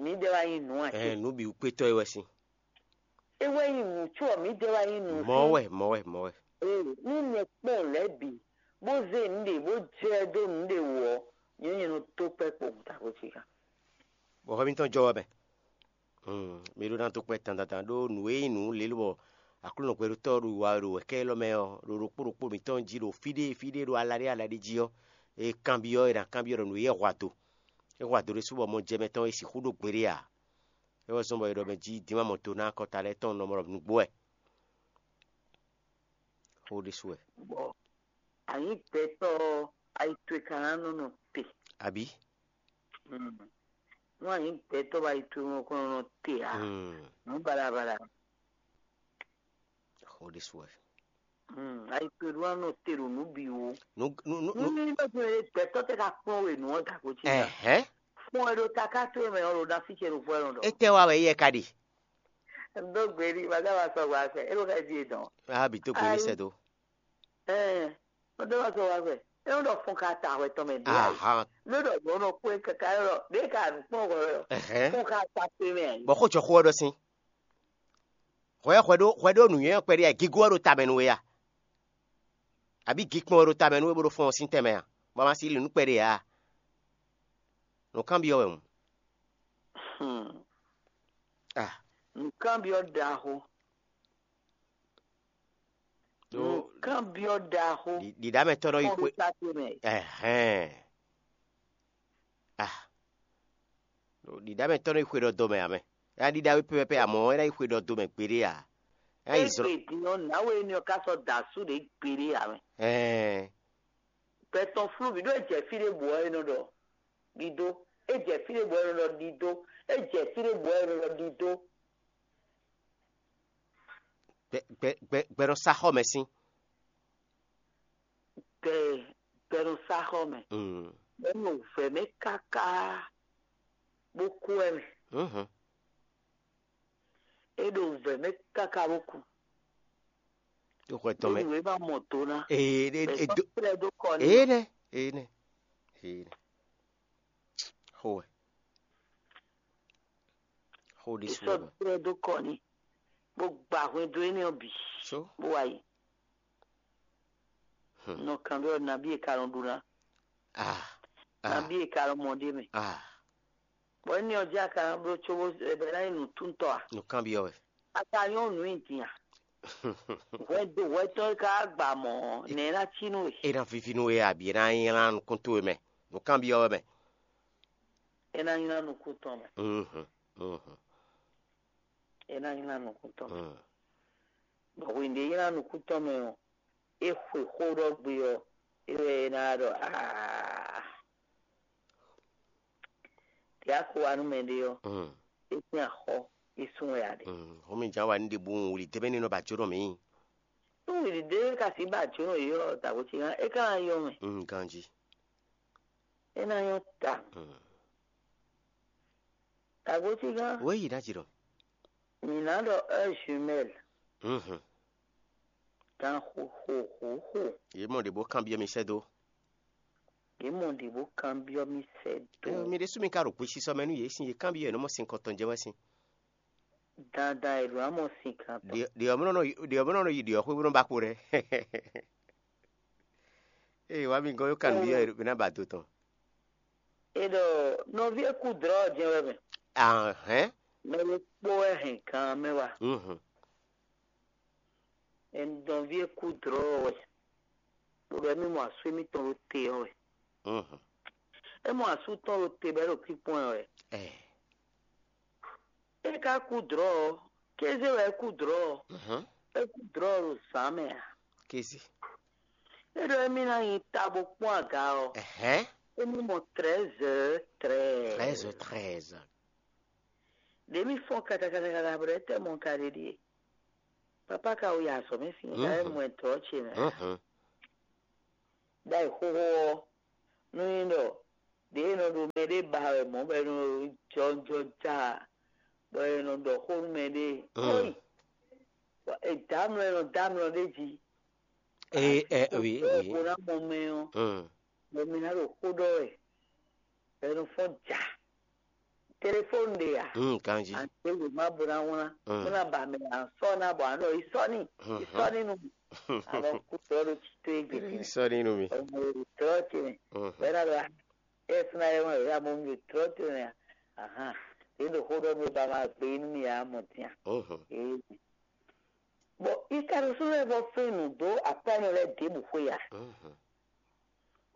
mǐdɛɛ wá nyí nǔ ǎ cé? Nǔ bǐ wú kpétɔ́ é wɛ sín. É wɛ nyí nǔ có, mǐdɛɛ wá nyí nǔ. Mɔ̌ wɛ, mɔ̌ wɛ, mɔ̌ wɛ. Ee, nú nyɛ kpɔ́n lɛ̌ bǐ, bó zé nǔɖé bó jɛ dó nǔɖé wú ɔ́, nyɛ nyɛ nɔ dó kpɛ́ kpowun taxo ce gán. Bɔ hwɛ mitɔn jɔ wɛ mɛ. Mi ɖó ná dó kpɛ́ dandandan ɖó nǔ e nyí nǔ lě bɔ Aklúnɔ gbɛɖótɔ́ ɖo wa ɖo wɛ̌kɛ́ élɔ́ mɛ ɔ́, ɖo ɖokpó ɖokpó mǐtɔn jí ɖo fí ɖé fí ɖé ɖo ala ɖé ala ɖé jí ɔ́, è kanbyɔ́, è nǎ kanbyɔ́ ɖɔ nǔ e é hwa do. É hwa do ɖésú bɔ mɔ jɛ mɛ tɔn e sixú ɖó gbeɖé ǎ. É wɛ zɔ́n bɔ è ɖɔ mɛ jí Dima mɔ do ná akɔta lɛ́ɛ tɔn nɔ mɔ ɖɔ nǔgbó wɛ. Xó ɖésú wɛ. Bɔ anyǐ gbɛtɔ́ ɔ́, ayi towe ka ná nɔ nɔ te. Abǐ? Nú anyǐ gbɛtɔ́ bɔ ayi towe nɔ kɔn nɔ te ǎ. Nǔ baɖabaɖa. Xó ɖésú wɛ. Ayi towe ɖó ná nɔ te ɖo nǔ bǐ wú. Nú nú nú Nú nú ní bɛ gbɛtɔ́ tɔ́ tɛ ka kplɔ́n we nǔ ɔ́ da ko cí ná. Ɛhɛn. Fún ɛ ɖo taká towe mɛ ɔ́ ɖo ná fí ce ɖo fún ɛ nɔ ɖɔ. Étɛ́ wa wɛ yɛ ka ɖe? Dó gbe ní, bàtà wa sɔgbe afɛ, é ló ka jí é dɔn. A bǐ tó gbe ní sɛ dó. Ɛɛ, wọ́n dó wá sọ wá fẹ́. É wọ́n dɔ fún ká ta hwɛ tɔn mɛ dé ayi. Ahan. Ló dɔ gbɔn nɔ kó kaka lɔ, dé ka nù kpɔn hwɛ lɔ. Ɛhɛn. Fún ká ta pé mɛ ayi. Bɔ xó jɔ xó ɔ́ ɖɔ sín. Hwɛ hwɛ ɖó hwɛ ɖó nǔnywɛ́ ɔ́ kpɛɖé a gígó ɔ́ ɖo tamɛ nú we a? Abǐ gíkpɔn ɔ́ ɖo tamɛ nú we bó ɖo fɔ́n ɔ́ sín tɛnmɛ a? Bɔ ma sí lǐ nú kpɛɖé a? Nǔkanbyɔ́ wɛ hǔn. Hmm. Ah. Nǔkanbyɔ́ ɖaxó. Nǔkanbyɔ́ ɖaxó. Ɖiɖámɛtɔ́ nɔ yi xwe. Ɛhɛn. Ah. Ɖiɖámɛtɔ́ nɔ yi xwe ɖɔ dɔmɛ ǎ mɛ. É ná ɖiɖá wé pɛ́pɛ́pɛ́ amɔ̌ é ná yi xwe ɖɔ dɔmɛ gbeɖé ǎ. É ná yi zlɔ́. Din ɔ́, nǎwe énɛ́ ɔ́ ka sɔ́ da asú ɖě gbeɖé ǎ mɛ. Ɛhɛn. Gbɛtɔn flú bǐ ɖó jɛ fí ɖé bǔ ɔ́ é nɔ ɖɔ ɖidó. É jɛ fí ɖé bǔ ɔ́ é nɔ ɖɔ ɖidó. É jɛ fí ɖé bǔ ɔ́ é nɔ ɖɔ ɖidó. Gbɛ gbɛ gbɛ gbɛ nɔ sá xɔ mɛ sín. Gbɛ gbɛ nɔ sá xɔ mɛ. Mm. Bɔ nɔ vɛ mɛ káká bó kú ɛ mɛ. Mhm. É ɖo vɛ mɛ káká bó kú. Tó xɔ tɔn mɛ. Nú é má mɔ tó ná. Ee é é é do. Tɛ́ dó kɔ ní. Ee nɛ ee nɛ ee nɛ. Xó wɛ. Xó ɖé sú wɛ. Tɛ́ dó kɔ ní. Bó gba hwɛndo énɛ́ ɔ́ bǐ. So. Bó wá yi. Hmm. Nɔ kan ɖɔ nabí e ka nɔ ɖu ná. Ah. Ah. Nabí e ka nɔ mɔ ɖé mɛ. Ah. Bɔ énɛ́ ɔ́ jẹ́ aka bló cóbó ebe ná nyí nǔtúntɔ́ a? Nǔkanbyɔ́ wɛ. Aka nyɔ́ nǔ nyi din a? Hwɛ do hwɛ tɔn e ka gba mɔ̌ nɛ̌ ná cí nú we? É ná víví nú we abǐ é ná nylá nukún towe mɛ? Nǔkanbyɔ́ wɛ mɛ. É ná nylá nukún tɔn mɛ. Mhm, mhm. É ná nylá nukún tɔn mɛ. Mm. Bɔ hwenu ɖě é nylá nukún tɔn mɛ ɔ́, é xwe xó ɖɔ gbe ɔ́, é wɛ é ná ɖɔ aa. Tě a ko wa nú mɛɖé ɔ́, é sín axɔ́, é sún wɛ ǎ ɖe. Hɔn mi jǎn wa ní ɖe bú wuli débé ní nɔ ba jó nɔ mǐ. Nú wili dé ka sí ba jó nɔ yě ɔ́, dǎgbó ce gán é ka ná yɔ mɛ. Ganjí. É ná nyɔ́ ta. Dǎgbó ce gán. Wěyi ná jǐ ɖɔ. Mǐ ná ɖɔ heure jumelle. Gan xo xo xo xo. Yě mɔ ɖě bó kanbyɔ́ mi sɛ́ dó. Yě mɔ ɖě bó kanbyɔ́ mi sɛ́ dó. Ɛ, mi ɖésú mi ka ɖo gbesisɔ mɛ nú yě sín yě kanbyɔ́ yě nɔ mɔ sin kɔntɔn jɛ wɛ sín. Dandan è ɖǒ ná mɔ sin kan tɔn. Ɖě ɔ́ mɔ nɔ ɖě ɔ́ mɔ nɔ yi ɖě ɔ́ xwé bó nɔ ba kpo ɖɛ. Ée wá mi gɔ́n yó kanbyɔ́ yě ná ba do tɔn. É ɖɔ nɔví e kú dlɔ̌ ɔ́ jɛ́n wɛ mɛ. Ahɛn. Mɛ ɖokpó wɛ hɛn gan mɛ wá. Mhm. Nɔví e kú dlɔ̌ ɔ́ wɛ, bó ɖɔ émí mɔ asú émítɔn ɖo te ɔ́ wɛ. Mhm. É mɔ asú tɔn ɖo te bɔ é ɖo kpíkpɔ́n ɛ wɛ. Ɛ. É ka kú dlɔ̌ ɔ́, kéze wɛ é kú dlɔ̌ ɔ́. Mhm. É kú dlɔ̌ ɔ́ ɖo zǎn mɛ ǎ. Kéze. É ɖɔ émí ná nyi ta bó kpɔ́n aga ɔ́. Ɛhɛn. Émí mɔ treize heures treize. Treize heures treize. Ɖě mì fɔ́n kata kata kata bɔ ɖɛ̌ tɛ́ mɔ ka ɖe ɖíe. Papa ka wo yi azɔ̌ mɛ sín ka é mɔ ɛ tlɔ́ ce mɛ. Ɖ'ayǐ xóxó ɔ́, nú nyí ɖɔ ɖě e nɔ ɖo mɛ ɖé ba wɛ mɔ̌ bɔ è nɔ jɔjɔ ja, bɔ è nɔ ɖɔ xó nú mɛ ɖé, kóyi, è dǎ mlɔ è nɔ dǎ mlɔ ɖé jí. Ee, ɛ, oui, oui. Bó ná mɔ mɛ ɔ́, bɔ mi ná ɖo xó ɖɔ wɛ, bɔ è nɔ fɔ́n ja. Telefóni ɖe a? Mm, ganji. Àti wěma bó ná wlán. Mm. Bó ná ba mɛ à ń sɔ́ ná bɔ à ń ɖɔ ìsɔ́ni, ìsɔ́ni nú mi. Àmọ́ kú tɔ́ ɖó tító égbè. Ìsɔ́ni nú mi. Ọmọ èrò tɔ́ ce mɛ. Bẹ́ẹ̀ náà lọ ẹ fúnra ẹ wọn ìyá mọ́ mi ò tɔ́ ce mɛ. Ahan. Yě ɖo xó ɖɔ mi ba ma gbé inú mi yà mọ̀ tíá. Ee. Bɔ Ikarus lɛ́ɛ vɔ fɛn nǔ dó akwɛ́nɔ lɛ́ɛ ɖěbǔ xwé a?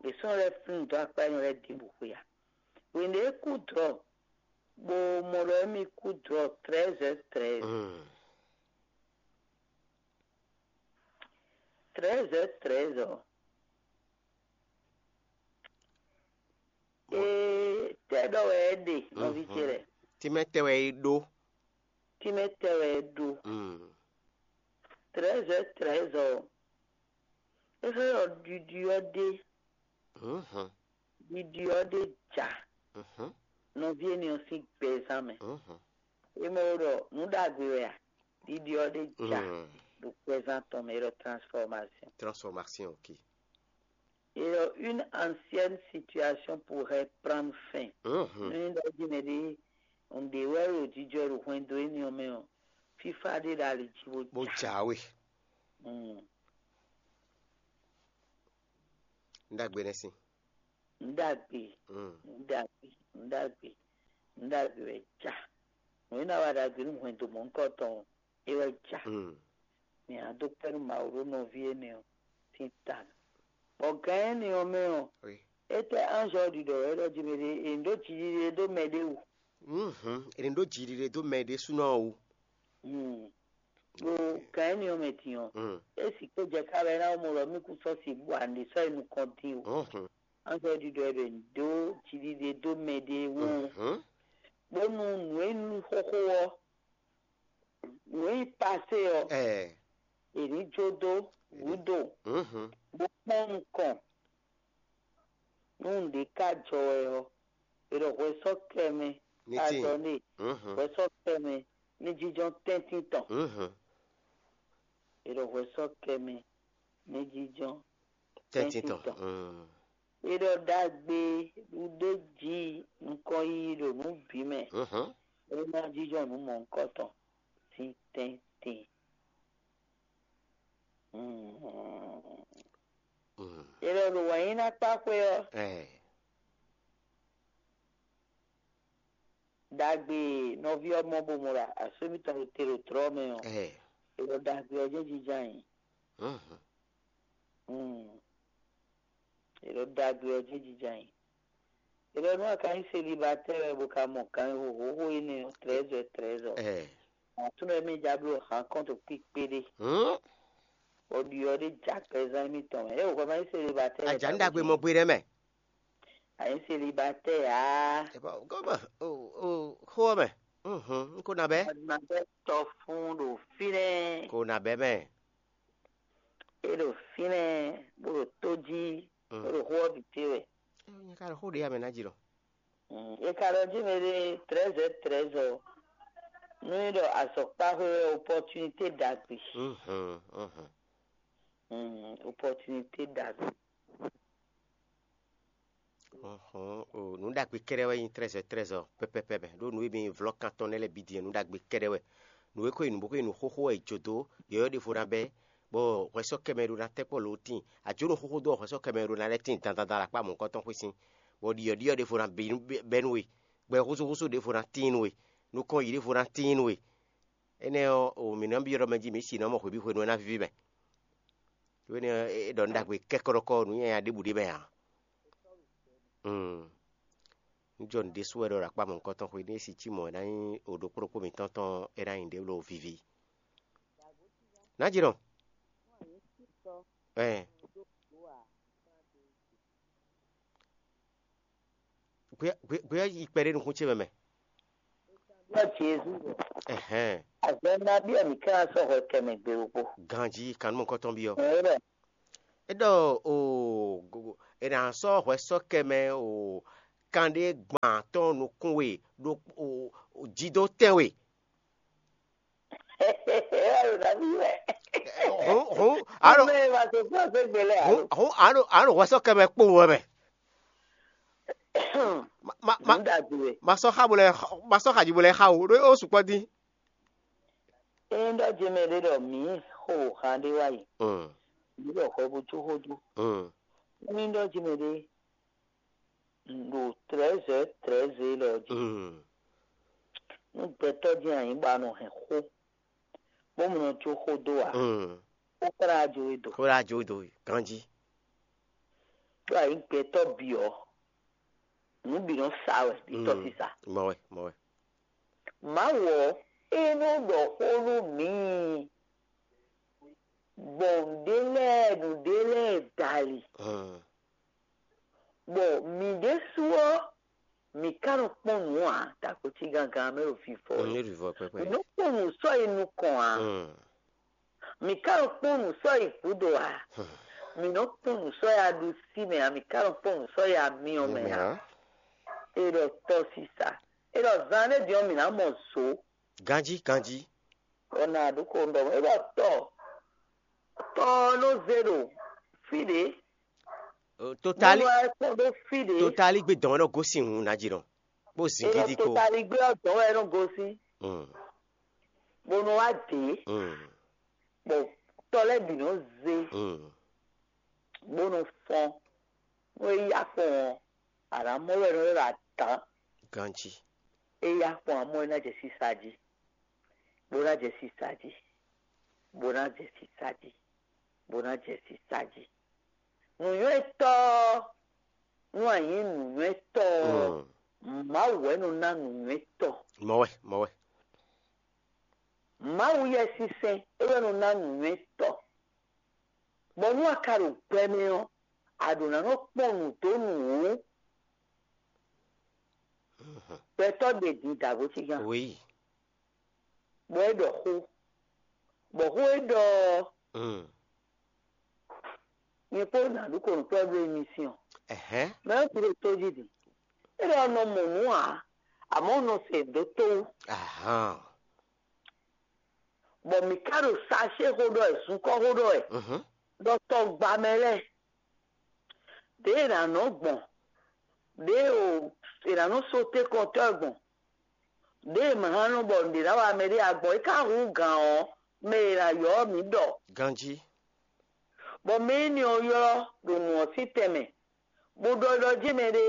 Yě sɔ́ lɛ́ flín dó akpá énɛ́ lɛ́ɛ ɖěbǔ xwé a? Hwenu e é kú dlɔ̌, bó mɔ ɖɔ émí kú dlɔ̌ treize heures treize. Treize heures treize ɔ́, ee tɛ́ ɖɔ wɛ é ɖe nɔví ce lɛ́ɛ? Tínmɛ tɛ́ wɛ é ɖó? Tínmɛ tɛ́ wɛ é ɖó? Treize heures treize ɔ́, é xlɛ́ ɖɔ ɖiɖi ɔ́ ɖe, ɖiɖi ɔ́ ɖe ja nɔví énɛ́ ɔ́ sín gbɛzán mɛ. É mɔ ɖɔ nǔ ɖagbe wɛ a? Ɖiɖi ɔ́ ɖe ja ɖo gbɛzán tɔn mɛ, é ɖɔ transformation. Transformation, ok. Et une ancienne situation pourrait prendre fin. Nú é ɖɔ jí mɛ ɖé un ɖe wɛ ɖo jijɔ ɖo hwɛndo énɛ́ ɔ́ mɛ ɔ́, fífá ɖé ɖo ali jí bó bó ja. Jǎwe. Mm. Nɖagbe nɛ́ sin. Nɖagbe, Mm. nɖagbe, nɖagbe, nɖagbe wɛ ja. Nǔ e ná wa ɖagbe nú hwɛndo mɔ̌hunkɔtɔn ɔ́, é wɛ ja. Mm. Mi hɛn dó kpɛ́ nú Mawu ɖó nɔví énɛ́ ɔ́ sín ta mɛ. Bɔ gǎn énɛ́ ɔ́ mɛ ɔ́, Oui. Étɛ́ anzɔ ɖiɖɔ wɛ ɖɔ jí mɛ ɖé è nǐ ɖó jiɖiɖe ɖó mɛ ɖé wú. Mhm. È nǐ ɖó jiɖiɖe dó mɛ ɖésúnɔ ɔ́ wú. Hmm. Ɖo gǎn énɛ́ ɔ́ mɛ din ɔ́, Mm. é sixú jɛ ká wɛ ná mɔ ɖɔ mí kún sɔ́ si bú ǎ ní sɔ́ yi nukɔn dín o. Mhm. Anzɔ ɖiɖɔ wɛ ɖɔ è nǐ ɖó jiɖiɖe dó mɛ ɖé wú. Mhm. Bónú nǔ e nyí xóxó ɔ́, nǔ e nyí pasé ɔ́, Ɛɛ. È nǐ jó dó gǔdo, Mhm. bó kpɔ́n nukɔn. Nú nǔɖé ka jɔ wɛ ɔ́, è ɖɔ hwɛ sɔ́ kɛ mɛ Ní tíin. Azɔ née, Mhm. hwɛ sɔ́ kɛ mɛ ní jínjɔ́n tɛ́ntin tɔn. Mhm. È ɖɔ hwɛ sɔ́ kɛ mɛ ní jínjɔ́n Tɛ́ntin tɔn. tɔn. Mm. È ɖɔ ɖagbe ɖuɖé jí nukɔn yiyi ɖo nǔ bǐ mɛ, Mhm. é ná jínjɔ́n nǔ mɔ̌hunkɔtɔn sín tɛ́ntin. Mm. Mm. È ɖɔ ɖo wǎnyíná kpá xwé ɔ́, Ɛɛ. Ɖagbe nɔví ɔ́ mɔ bó mɔ ɖo asú mǐtɔn ɖo te ɖo tlɔ́ mɛ ɔ́, Ɛɛ. È ɖɔ ɖagbe ɔ́ jɛ́n jínjɔ́n ayǐ. Mhm. Mm. È ɖɔ ɖagbe ɔ́ jɛ́n jínjɔ́n ayǐ. È ɖɔ nú a ka nyí selibatɛ́ wɛ bó ka mɔ ganxixo xóxó énɛ́ ɔ́, trɛ̌zɔ trɛ̌zɔ. Ɛɛ. Aklúnɔ e mì ja bló hǎn kɔn ɖo kpíkpé ɖé. Hmm? Bɔ ɖiɔ ɖé ja kpɛzán émítɔn mɛ. É wǒ hwɛ ma nyí selibatɛ́ wɛ. Ajǎn ɖagbe mɔ gbe ɖɛ mɛ. A nyí selibatɛ́ ǎ. Ebo goma o o xó ɔ́ mɛ. Mhm, n ko na bɛ. Adumabɛ tɔ fún ɖo fínɛ́. Ko na bɛ mɛ. É ɖo fínɛ́ bó ɖo tó jí, Mm. Bó ɖo xó ɔ́ bǐ té wɛ. Nyɛ ka ɖo xó ɖě amɛ ná jí lɔ. Mm, è ka ɖɔ jí mɛ ɖé trɛ̌zɛ trɛ̌zɔ. Nú é ɖɔ azɔ̌kpáxwé wɛ opɔtunité ɖagbe. Mhm, mhm. Mm, opɔtunité ɖagbe. Ɔhɔn, o nǔ ɖagbe kɛ́ɖɛ́ wɛ nyí trɛ́zɔ trɛ́zɔ pɛpɛpɛ mɛ ɖó nǔ e mi vlɔ́ kan tɔn nɛ́ lɛ́ɛ bǐ din ɔ́, nǔ ɖagbe kɛ́ɖɛ́ wɛ. Nǔ e ko nyi nǔ bó ko nyi nǔ xóxó wɛ è jǒ dó, yɔ̌yɔ́ ɖěvo ná bɛ́, bɔ hwɛsɔ́ kɛ mɛ ɖó ná tɛ́ kpɔ́ lǒ tíin. A jǒ nǔ xóxó dó ɔ́, hwɛsɔ́ kɛ mɛ ɖó ná lɛ́ tíin dandan ɖo akpá mɔ̌hunkɔtɔn xwé sín, bɔ ɖiɔ̌ɖiɔ́ ɖěvo ná bɛ́ nú we, gbɛ húzúhúzú ɖěvo ná tíin nú we, nukɔn yǐ ɖěvo ná tíin nú we. Énɛ́ ɔ́, o mǐ nɔ́ byɔ́ ɖɔ mɛ jí mǐ si nɔ mɔ hwebǐ hwenu e ná víví mɛ. Lo énɛ́ ɔ́, é ɖɔ nǔ ɖagbe kɛ́kɔ́ɖɔkɔ́ nǔ nyanya ɖěbǔ ɖé mɛ ǎ. Mm. Nǔjɔnǔ ɖésú wɛ ɖɔ ɖo akpá mɔ̌hunkɔtɔn xwé ní é si cí mɔ̌ é ná nyí o ɖokpó ɖokpó mǐtɔn tɔn é ná nyí ɖě ɖo vivi. Nǎjínɔ. Ɛɛ. Gbé gbé gbé yi kpɛɖé nukún ce mɛ mɛ. Ɖɔ Jezu ɖɔ. Ɛhɛn. Azɔn nabí wɛ mǐ ka ná sɔ́ hwɛ kɛ mɛ gbe ɖokpó? Ganjí kannumɔkɔ́tɔn byɔ́. Ɛ ɖɔ É ɖɔ o, go- go- è nǎ sɔ́ hwɛ sɔ́ kɛ mɛ o kanɖé gban tɔn nukún we ɖo o o jí dó tɛn we. Ɛ ɖo nabí wɛ? Hǔn hǔn a ɖo Mɛ ma tó fún ɔsɛ́ gbe lɛ alo? Hǔn hǔn a ɖo a ɖo hwɛ sɔ́ kɛ mɛ kpowun wɛ mɛ. Ma ma ma Nǔ ɖagbe wɛ. Ma sɔ́ xa bo lɛ ma sɔ́ xa jí bo lɛ xa o ɖó ó sukpɔ́ dín. Ényí ɖɔ jɛmɛ ɖé ɖɔ mǐ xo han ɖé wá yi, Mm, mǐ ɖɔ hwɛ bó jó xó dó. Mm. Ényí ɖɔ jɛmɛ ɖé ɖo trɛ̌zɛ̌ trɛ̌zɛ̌ élɔ́ jí, Mm. Nú gbɛtɔ́ jɛ́n a nyǐ bɔ a nɔ hɛn xó, bó mɔ nɔ jó xó dó ǎ, Mm. Xó ka ná jó we do. Xó ɖo ajo do ganjí. Ɖó a nyǐ gbɛtɔ́ bǐ ɔ́, nǔ bǐ nɔ sa wɛ ɖi tɔ́sísa. Mɔ wɛ, mɔ wɛ. Mawu ɔ́, é nɔ ɖɔ xó nú mǐ, gbɔn nǔɖé lɛ́ɛ nǔɖé lɛ́ɛ dali, bɔ mǐ ɖésú ɔ́, mǐ ka nɔ kpɔ́n nǔ ǎ, dagbo cí gángan mɛ ɖo vivɔ wɛ. Mǐ ɖo vivɔ pɛpɛ. Mǐ nɔ kpɔ́n nǔ sɔ́ yi nukɔn ǎ. Mǐ ka nɔ kpɔ́n nǔ sɔ́ yi gǔdo ǎ. Mǐ nɔ kpɔ́n nǔ sɔ́ yi aɖusí mɛ ǎ, mǐ ka nɔ kpɔ́n nǔ sɔ́ yi amyɔ mɛ ǎ. É ɖɔ tɔ́sísa. É ɖɔ zan ɖé din ɔ́, mǐ ná mɔ zǒ. Ganjí, ganjí. Ɔ́ na ɖu ko ɖɔ é ɖɔ tɔ tɔ ɔ́ nɔ zé ɖo fí ɖě. Totali Bónú wá kpɔ́n ɖó fí ɖě. Totali gbé dɔn wɛ nɔ gosín hǔn ná jí nɔ bó zin Ena gidi ko. Totali gbé ɔ́ dɔn wɛ nɔ gosín. Mm, Bónú wá dě. Mm, Bɔ tɔ lɛ́ɛ bǐ nɔ zé. Mm, Bó nɔ fɔ́n. Nú é yá fɔ́n ɔ́, a nǎ mɔ wɛ nɔ ylɔ́ ɖɔ adǎn. Ganjí. É yá fɔ́n amɔ́ é ná jɛ sísá jí, bó ná jɛ sísá jí, bó ná jɛ sísá jí, bó ná jɛ sísá jí. Nǔnywɛ́tɔ́ ɔ́, nú a nyǐ nǔnywɛ́tɔ́ ɔ́, Mm. Mawu wɛ nɔ ná nǔnywɛ́tɔ́. Mɔ wɛ, mɔ wɛ. Mawu Yɛsinsɛn é wɛ nɔ ná nǔnywɛ́tɔ́. Bɔ nú a ka ɖo gbɛ mɛ ɔ́, a ɖǒ ná nɔ kpɔ́n nǔ dó nǔ wú. Gbɛtɔ́ ɖe din dǎgbó cígán, Oui. Bɔ é ɖɔ xó, bɔ xó e ɖɔ ɔ́, Mm. nyɛ kpó nǎ ɖu kɔnǔkplɔ́ ɖó émísíɔn. Ɛhɛn. Mɛ ɔ́ bǐ ɖo tójí din. É ɖɔ nɔ mɔ nǔ ǎ, amɔ̌ nɔ se dó tó wú. Ahan. Bɔ mǐ ka ɖo sacé xó ɖɔ wɛ, zunkɔ́ xó ɖɔ wɛ, Mhm. Ɖɔ tɔgba mɛ lɛ́ɛ, ɖěe è nǎ nɔ gbɔn, ɖěe è nǎ nɔ sóté kɔntɔ́ gbɔn, ɖěe è ma hán nɔ bɔ nǔɖé ná wa mɛ ɖé ǎ gbɔn, é ka hú gǎn ɔ́, mɛ e è nǎ ylɔ́ ɔ́ mǐ ɖɔ. Ganjí. Bɔ mɛ énɛ́ ɔ́ ylɔ́ ɖo nǔ ɔ́ sín tɛnmɛ, bó ɖɔ ɖɔ jɛ́n mɛ ɖé,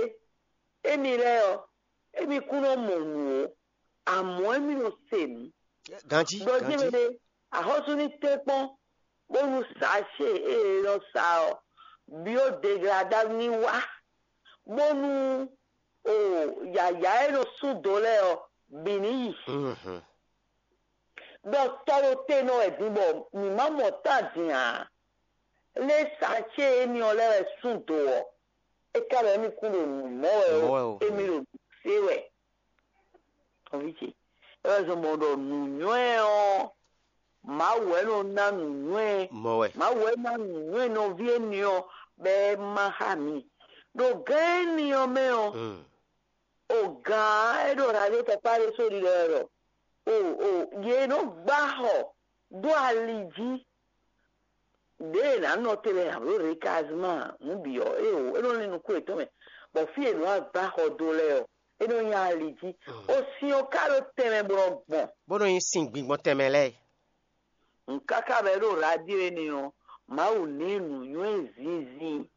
émí lɛ́ɛ ɔ́, émí kún nɔ mɔ nǔ ó, amɔ̌ émí nɔ se nǔ. Ganjí, Ɖɔ jɛ́n mɛ ganjí. Ɖé, axɔ́sú ní tɛ́nkpɔ́n, bónú sa ce e è nɔ sa ɔ́, byɔ́ deglada ní wá, bónú o yǎyá e nɔ sú do lɛ́ɛ ɔ́, bǐ ní yi. Mhm. Ɖɔ tɔ ɖo te nɔ wɛ din bɔ mǐ ma mɔ tán din ǎ. Lě sa ce éní ɔ́ lɛ́ɛ wɛ sú do ɔ́, é ka ɖɔ émí kún ɖo nǔ mɔ wɛ Mɔ wɛ ó, ó. Émí ɖo nǔ se wɛ. Nɔví ce, é wɛ zɔn bɔ ɖɔ nǔnywɛ́ ɔ́, Mawu wɛ nɔ ná nǔnywɛ́. Mɔ wɛ. Mawu wɛ ná nǔnywɛ́ nɔví éní ɔ́, bɔ é má xá mǐ. Ɖo gǎn éní ɔ́ mɛ ɔ́, Mm. O gǎn e ɖo radio tɔkpá ɖé só ɖiɖɔ wɛ ɖɔ o o yě nɔ gbá xɔ dó ali jí. Ɖěe è nǎ nɔ te lɛ́ɛ ǎ, ɖó Rekazima nǔ bǐ ɔ́, é o é nɔ lin nukún yětɔn mɛ, bɔ fí e è nɔ wá gbá xɔ dó lɛ́ɛ ɔ́, é nɔ nyí ali jí. O sin ɔ́ ka ɖó tɛnmɛ bó nɔ gbɔn. Bó nɔ nyí sin gbingbɔn tɛnmɛ lɛ́ɛ. Nǔkáká mɛ ɖo radio énɛ́ ɔ́, Mawu ní nǔnywɛ́ zinzin.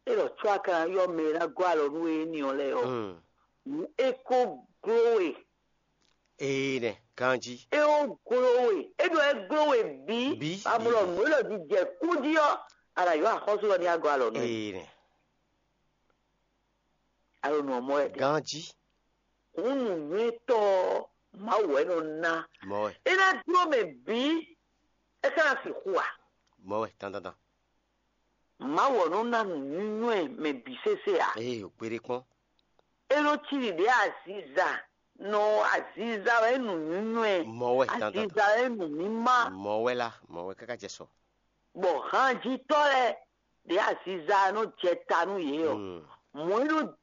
É ɖɔ có a ka ná ylɔ́ mɛ e ná gɔ́ alɔ nú we énɛ́ ɔ́ lɛ́ɛ ɔ́, Mm. Nǔ é ko gló we. Ee nɛ, ganjí. É ó gló we. É ɖɔ é gló we bǐ. Bǐ, Amlɔ bǐ. Nǔ élɔ́ jí jɛ kú jí ɔ́, a nǎ ylɔ́ axɔ́sú ɔ́ ní agɔ́ alɔ nú we. Ee nɛ. Alo nǔ ɔ́ mɔ wɛ ɖe. Ganjí. Hǔn nǔnywɛ́tɔ́ ɔ́, Mawu wɛ nɔ ná. Mɔ wɛ. É ná dló mɛ bǐ, é ka ná sixú a? Mɔ wɛ dandandan. Mawu ɔ́ nɔ ná nǔnywɛ́ mɛ bǐ sésé a? Ee, o kpeɖé kpɔ́n. É nɔ cí ɖiɖě aziza nɔ aziza wɛ nǔnyúnywɛ, Mɔ̌ wɛ dandan. Aziza wɛ nǔmímá. Mɔ̌ wɛ lá, mɔ̌ wɛ káká jɛ sɔ. Bɔ hanjitɔ́ lɛ́ɛ ɖě aziza nɔ jɛ ta nú yě ɔ́, Mm. mɔ̌ é nɔ